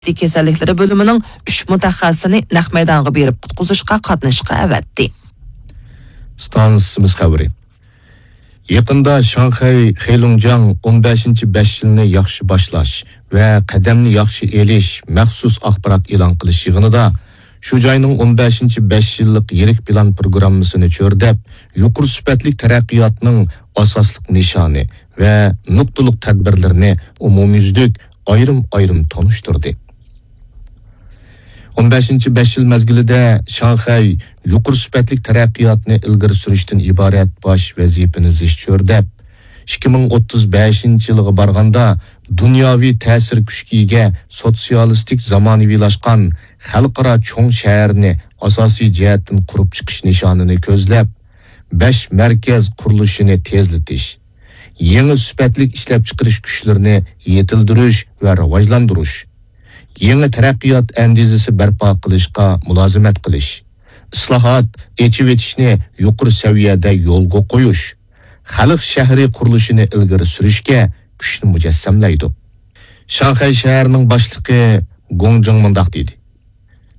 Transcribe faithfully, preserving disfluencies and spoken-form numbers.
كېسەللىكلىرى بۆلۈمىنىڭ ئۈچ مۇتەخەسسىسىنى نەق مەيدانغا بېرىپ قۇتقۇزۇشقا قاتنىشىشقا ئەۋەتتى. ئىستانسىمىز خەۋىرى. يېقىندا شاڭخەي خېيلۇڭجياڭ ئون بەشىنچى بەش يىلنى ياخشى باشلاش ۋە قەدەمنى ياخشى ئېلىش مەخسۇس ئاخبارات ئېلان قىلىش يىغىنىدا شۇ جاينىڭ ئون بەشىنچى بەش يىللىق يىرىك پىلان پروگراممىسىنى چۆرىدەپ، يۇقىرى سۈپەتلىك تەرەققىياتنىڭ ئاساسلىق نىشانى ۋە نۇقتىلىق تەدبىرلىرىنى ئومۇميۈزلۈك ئايرىم-ئايرىم تونۇشتۇردى. ئون بەشىنچى بەش يىل مەزگىلىدە شاڭخەي يۇقىرى سۈپەتلىك تەرەققىياتنى ئىلگىرى سۈرۈشتىن ئىبارەت باش ۋەزىپىنى زىچ چۆرىدەپ، ئىككى مىڭ ئوتتۇز بەشىنچى يىلغا بارغاندا دۇنياۋى تەسىر كۈچكە ئىگە سوتسىيالىستىك زامانىۋىلاشقان خەلقئارا چوڭ شەھەرنى ئاساسىي جەھەتتىن قۇرۇپ چىقىش نىشانىنى كۆزلەپ، بەش مەركەز قۇرۇلۇشىنى تېزلىتىش، يېڭى سۈپەتلىك ئىشلەپچىقىرىش كۈچلىرىنى يېتىلدۈرۈش ۋە راۋاجلاندۇرۇش، يېڭى تەرەققىيات ئەندىزىسى بەرپا قىلىشقا مۇلازىمەت قىلىش، ئىسلاھات، ئېچىۋېتىشنى يۇقىرى سەۋىيەدە يولغا قويۇش، خەلق شەھىرى قۇرۇلۇشىنى ئىلگىرى سۈرۈشكە كۈچنى مۇجەسسەملەيدۇ. شاڭخەي شەھىرىنىڭ باشلىقى گوڭ جىڭ مۇنداق دېدى: